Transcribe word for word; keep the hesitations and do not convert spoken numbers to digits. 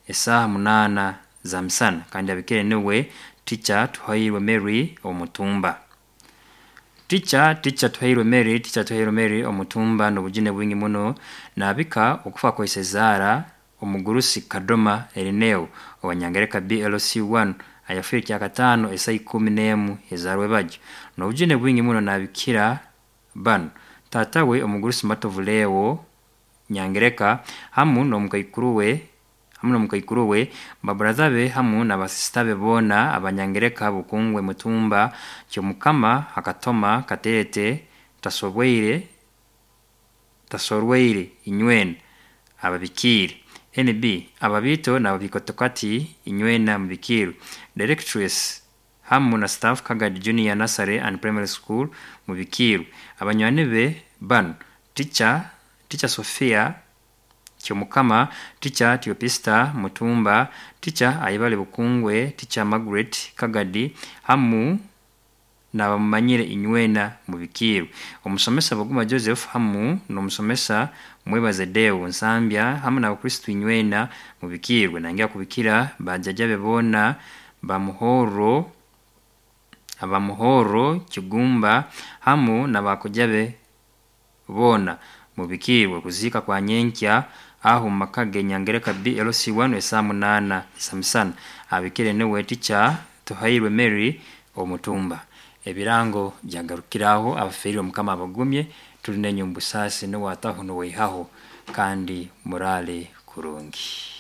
Esaaha munaana za misana kandi abikire niwe Teacher Tuhairwe Mary Omutumba. Teacher Teacher Tuhairwe Mary Teacher Tuhairwe Mary Omutumba n'obujune bwingi muno naabika okufa kwa Isezaara omugurusi Kadoma Erineo owa Nyangereka B L C one ayafiire kyakataano esaaha ikumi n'emu ez'arwebagyo. N'obujune bwingi muno naabikira banu: taata we omugurusi Matovu Leo Nyangereka hamu n'omukaikuru we hamu n'omukaikuru we, baburatha be hamu na basisita be boona Abanyangereka Bukungwe Mutumba Kyomukama Hakatoma Kateete Tasobweire Tasorweire inywena ababikiire. N B Ababiito n'ababiikotokati inywena mubikiirwe. Directress hamu na staff Kagadi Junior Nursery and Primary School mubikiirwe. Abanywani be banu: Teacher Teacher Sophia Kyomukama, Teacher Teopista Mutumba, Teacher Ayebare Bukungwe, Teacher Margaret Kagadi hamu n'abamumanyire inywena mubikiirwe. Omusomesa Baguma Joseph hamu n'omusomesa Mwebaze Deo Nsambya hamu n'abakristu inywena mubikiirwe. Nangya kubikira bajjajja be boona Bamuhoro Abamuhoro Kigumba hamu n'abakojja be boona mubikiirwe. Kuziika kwa nyenkya aho omu maka ge Nyangereka B L C one esaaha munaana z'amisana. Abikire niwe Teacher Tuhairwe Mary Omutumba. Ebirango byagarukiraho. Abafiirwe Mukama abagumye, tuli nainywe omu busaasi, nuwe ataho nuwe aihaho, kandi muraale kurungi.